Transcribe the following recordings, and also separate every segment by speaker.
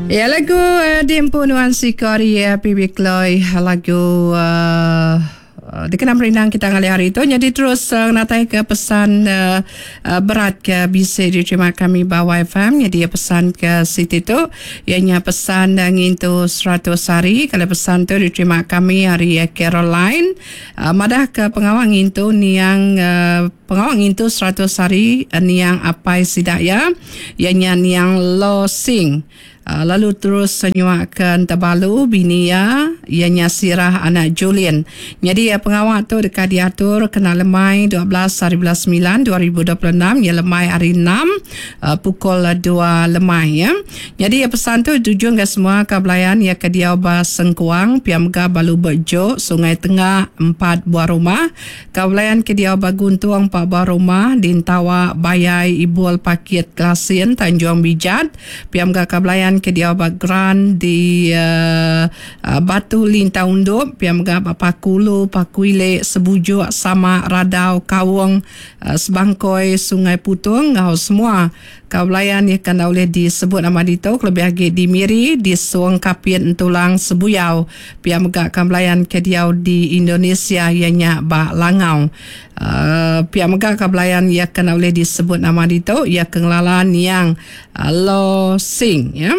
Speaker 1: Ya lagu uh, diempu nuan siko ari uh, PB Chloe lagu uh, dikena merindang kita ngalih hari tu jadi terus uh, natai ke pesan uh, uh, berat ke bisi diterima kami ba YFM jadi pesan ke siti tu ianya pesan uh, ngintu 100 hari kalau pesan tu diterima kami hari uh, Caroline uh, madah ke pengawa ngintu niang uh, Pengawa ngintu 100 hari niang apai sida iya, iya nya niang Lo Sing, lalu terus nyuaka Entebalu bini iya, iya nya Sirah anak Julin. Nyadi pengawa tu deka diatur kena lemai 12 hari bulan semilan 2026 iya lemai hari enam pukul dua lemai. Nyadi pesan tu dituju ngagai semua ka belayan iya ke diau ba Sengkuang pia mega ba Lubok Jok, Sungai Tengah, empat buah rumah. Ka belayan ke diau ba Guntung pa ba rumah di Entawa, Bayai, Ibul, Pakit, Kelasin, Tanjung Bijat. Pia mega ka belayan ke diau ba Gran di Batu Lintau Undup, pia mega ba Paku Ulu, Paku Ili, Sebujuk, Sama, Radau, Kaung, Sebangkoi, Sungai Putung enggau semua Ka belayan iya ke enda ulih disebut nama ditu kelebih agi di Miri, di Song, Kapit, Entulang, Sebuyau. Pia mega ka belayan ke diau di Indonesia iya nya ba Langau. Uhh pia mega ka belayan iya ke enda ulih disebut nama ditu iya ke ngelala niang Lo Sing ya.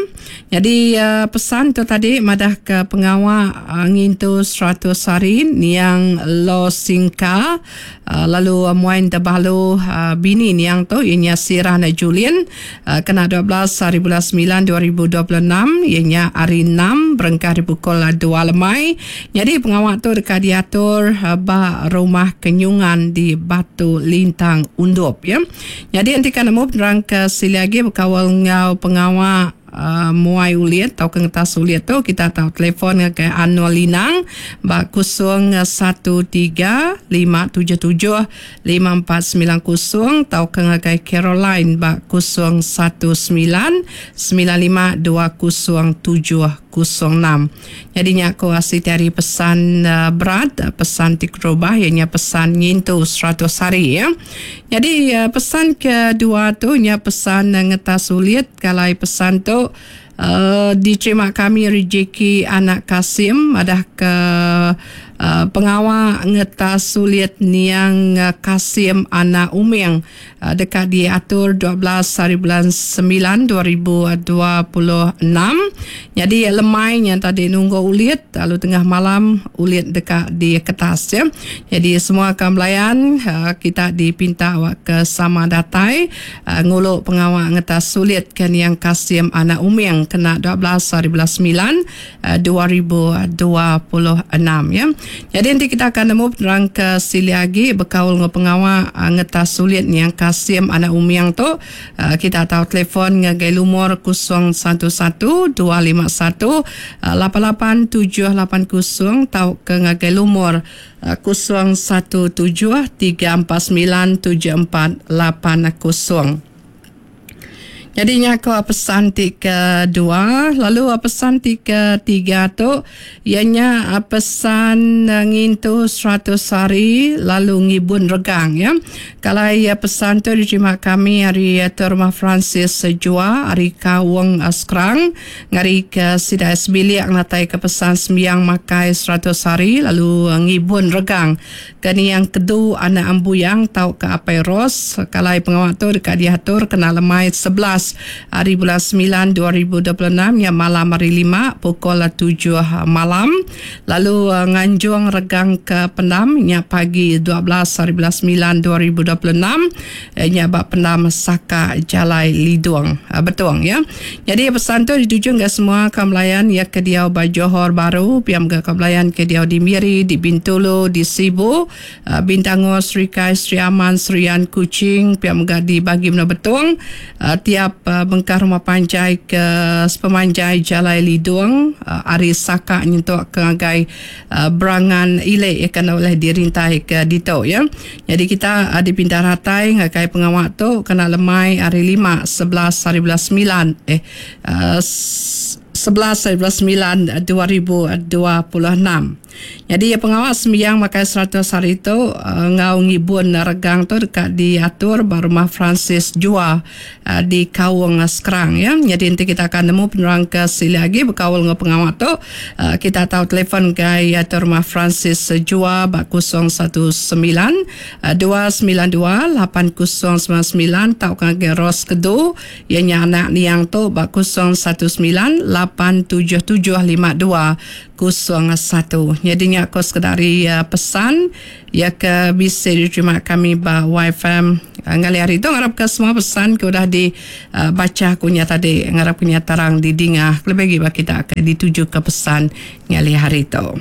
Speaker 1: Nyadi pesan tu tadi madah ke pengawa ngintu 100 hari niang Lo Sing Ka Lalu muai tebalu bini niang tu iya nya Sirah anak Julin kena 12 hari bulan semilan 2026 iya nya hari enam berengkah ari pukul dua lemai. Nyadi pengawa tu deka diatur ba Rumah Kenyungan di Batu Lintang Undup ya. Nyadi enti ka nemu penerang ke silik agi bekaul enggau pengawa Muai ulit tauka ngetas ulit tu kita tau telefon ngagai Anol Linang ba 0135775490 tauka ngagai Caroline ba 0199520706. Nyadi nya ku siti ari pesan berat, pesan ti keterubah iya nya pesan ngintu 100 hari. Nyadi pesan kedua tu nya pesan ngetas ulit. Kalai pesan tu diterima kami ari Jackie anak Kasim madah ke pengawa ngetas sulit niang Kasim anak Uming deka diatur 12 hari bulan semilan 2026. Nyadi lemai nya tadi nunggu ulit lalu tengah malam ulit deka diketas ya. Nyadi semua ka belayan kita dipinta awak ke sama datai. Ngulu pengawa ngetas sulit ke niang Kasim anak Uming kena 12 hari bulan semilan 2026 ya. Nyadi enti kita akan nemu penerang ke silik agi bekaul enggau pengawa ngetas sulit niang Kasim anak Uming tu kita tau telefon ngagai lumur 011 251 88780 tauka ngagai lumur 0 17 349 7480. Nyadi nya ko pesan ti kedua lalu pesan ti ketiga tu iya nya pesan ngintu 100 hari lalu ngibun regang ya. Kalai pesan tu diterima kami ari Tuan Rumah Francis Jua ari Kaung Skrang Ngari ke sida sebilik ngenatai ke pesan sembiang makai 100 hari lalu ngibun regang ke niang Kedu anak Ambuyang tauka Apai Ros. Kalai pengawa tu deka diatur kena lemai 11 hari bulan semilan 2026 nya malam hari lima pukul tujuh malam lalu nganjung regang ke pendam nya pagi 12 hari bulan semilan 2026 nya ba pendam Saka Jalai Lidong Betong ya. Nyadi pesan tu dituju ngagai semua kaum belayan iya ke diau ba Johor Bahru, pia mega kaum belayan ke diau di Miri, di Bintulu, di Sibu, Bintangor, Serikai, Sri Aman, Serian, Kuching, pia mega di Bagi Menua Betong, tiap bengkah rumah panjai ke sepemanjai Jalai Lidong ari Saka nyentuk ke ngagai Berangan Ili iya ke enda ulih dirintai ke ditu iya. Nyadi kita dipinta ratai ngagai pengawa tu kena lemai hari lima 11 hari bulan semilan eh. 11 9 2026. Nyadi pengawa sembiang makai 100 hari tu enggau ngibun regang tu deka diatur ba Rumah Francis Jua di Kaung Skrang ya. Nyadi enti kita akan nemu penerang ke silik agi bekaul enggau pengawa tu kita tau telefon ngagai Rumah Francis Jua ba 019 292 8099 tauka ngagai Rose Kedu Iya nya anak niang tu ba 0198775201. Nyadi nya ko sekeda ari pesan iya ke bisi diterima kami ba YFM ngalih hari tu ngarap ka semua pesan ke udah di bacha ku nya tadi ngarap ku nya terang didinga kelebih agi ba kita ke dituju ka pesan ngalih hari tu.